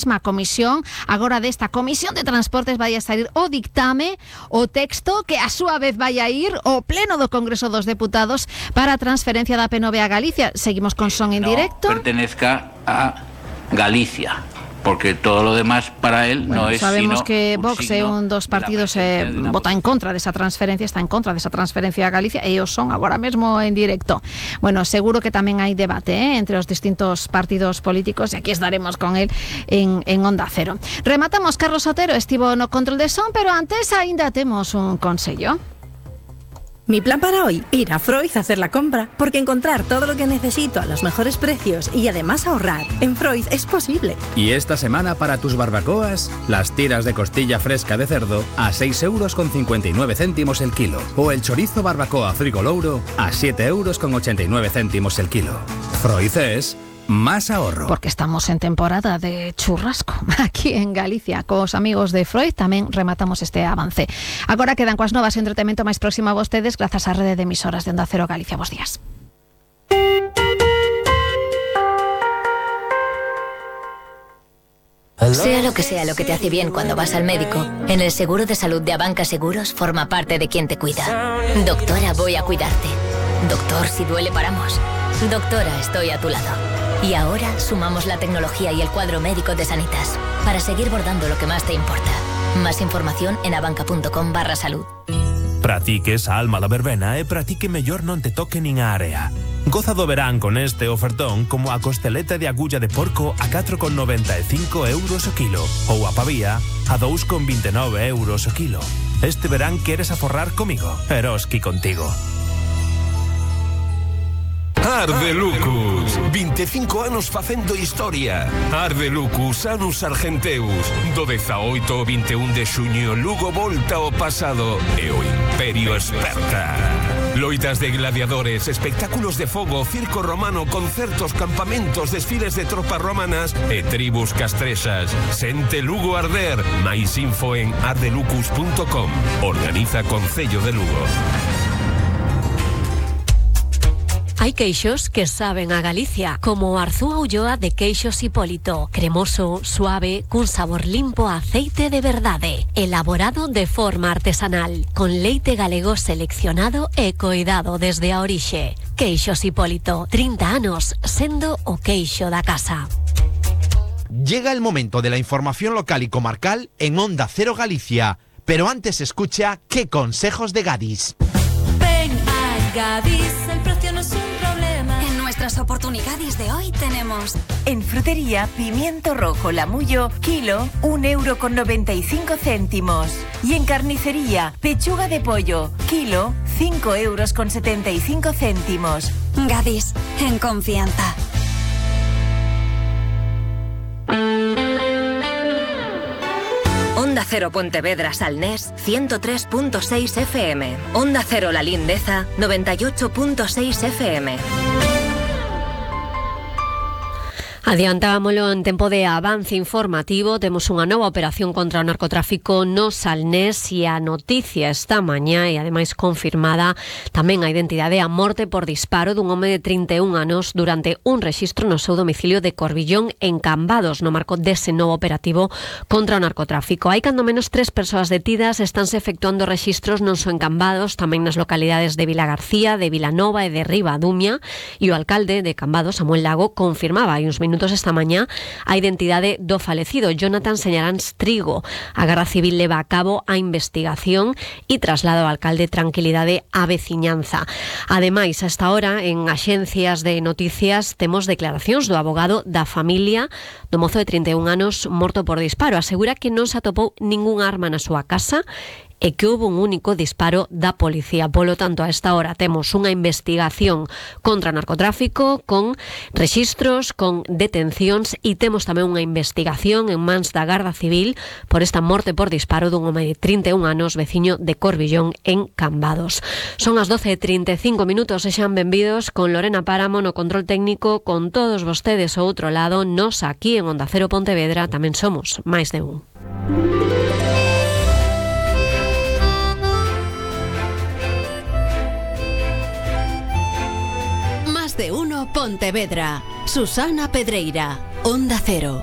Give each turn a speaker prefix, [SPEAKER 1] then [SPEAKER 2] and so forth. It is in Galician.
[SPEAKER 1] mesma comisión, agora desta Comisión de Transportes vai a sair o dictame, o texto que a súa vez vai a ir ao pleno do Congreso dos Deputados para a transferencia da P9 a Galicia. Seguimos con son en directo.
[SPEAKER 2] Pertenezca a Galicia, porque todo lo demás para él no es
[SPEAKER 1] sabemos
[SPEAKER 2] sino
[SPEAKER 1] que
[SPEAKER 2] un
[SPEAKER 1] Vox é un dos partidos vota en contra desa transferencia, está en contra desa transferencia a Galicia e os son agora mesmo en directo. Bueno, seguro que tamén hai debate entre os distintos partidos políticos e aquí estaremos con él en Onda Cero. Rematamos, Carlos Otero estivo no control de son, pero antes aínda temos un consello.
[SPEAKER 3] Mi plan para hoy, ir a Freud a hacer la compra, porque encontrar todo lo que necesito a los mejores precios y además ahorrar en Freud es posible.
[SPEAKER 4] Y esta semana para tus barbacoas, las tiras de costilla fresca de cerdo a 6,59 € el kilo, o el chorizo barbacoa Frigolouro a 7,89 € el kilo. Freud es más ahorro.
[SPEAKER 1] Porque estamos en temporada de churrasco aquí en Galicia. Cos amigos de Freud tamén rematamos este avance. Agora quedan coas novas e entretemento máis próximo a vostedes grazas á rede de emisoras de Onda Cero Galicia. Bos días.
[SPEAKER 5] Sea lo que te hace bien cuando vas al médico, en el seguro de salud de Abanca Seguros forma parte de quien te cuida. Doctora, voy a cuidarte. Doctor, si duele paramos. Doctora, estoy a tu lado. Y ahora sumamos la tecnología y el cuadro médico de Sanitas para seguir bordando lo que más te importa. Más información en abanca.com/salud.
[SPEAKER 6] Pratique esa alma da verbena e pratique mellor non te toque nin a área. Goza do verán con este ofertón como a costeleta de agulla de porco a 4,95 € o kilo ou a pavía a 2,29 € o kilo. Este verán queres aforrar comigo, Eroski contigo.
[SPEAKER 7] Ardelucus, 25 anos facendo historia. Ardelucus, Anus Argenteus. Do 18 ao 21 de xuño, Lugo volta ao pasado e o Imperio esperta. Loitas de gladiadores, espectáculos de fogo, circo romano, concertos, campamentos, desfiles de tropas romanas e tribus castrexas. Sente Lugo arder. Mais info en ardelucus.com. Organiza Concello de Lugo.
[SPEAKER 8] Hai queixos que saben a Galicia, como o Arzúa Ulloa de Queixos Hipólito. Cremoso, suave, cun sabor limpo a aceite de verdade. Elaborado de forma artesanal, con leite galego seleccionado e coidado desde a orixe. Queixos Hipólito, 30 anos, sendo o queixo da casa.
[SPEAKER 9] Llega el momento de la información local y comarcal en Onda Cero Galicia. Pero antes escucha ¿Qué consejos de Gadis?
[SPEAKER 10] Ven a Gadis, el precio no es un problema. En nuestras oportunidades de hoy tenemos...
[SPEAKER 11] En frutería, pimiento rojo Lamullo, kilo, 1,95 €. Y en carnicería, pechuga de pollo, kilo, 5,75 €.
[SPEAKER 10] Gadis, en confianza.
[SPEAKER 12] Onda Cero Pontevedra Salnés 103.6 FM. Onda Cero La Lindeza 98.6 FM.
[SPEAKER 8] Adiantámoslo en tempo de avance informativo. Temos unha nova operación contra o narcotráfico no Salnés e a noticia esta mañá e ademais confirmada tamén a identidade a morte por disparo dun home de 31 anos durante un rexistro no seu domicilio de Corbillón en Cambados no marco dese novo operativo contra o narcotráfico. Hai cando menos 3 persoas detidas, estánse efectuando rexistros non só en Cambados, tamén nas localidades de Vilagarcía, de Vilanova e de Ribadumia, e o alcalde de Cambados, Samuel Lago, confirmaba hai uns minutos esta mañá a identidade do falecido, Jonathan Señaráns Trigo. A Garda Civil leva a cabo a investigación e traslada ao alcalde tranquilidade á veciñanza. Ademais, a esta hora, en axencias de noticias, temos declaracións do abogado da familia do mozo de 31 anos morto por disparo. Asegura que non se atopou ningún arma na súa casa e que houve un único disparo da policía. Polo tanto, a esta hora temos unha investigación contra o narcotráfico, con rexistros, con detencións e temos tamén unha investigación en mans da Garda Civil por esta morte por disparo dun home de 31 anos veciño de Corbillón en Cambados. Son as 12:35 minutos, sexan benvidos con Lorena Páramo no control técnico, con todos vostedes ao outro lado. Nos aquí en Onda Cero Pontevedra tamén somos máis de un.
[SPEAKER 13] De uno Pontevedra. Susana Pedreira, Onda Cero.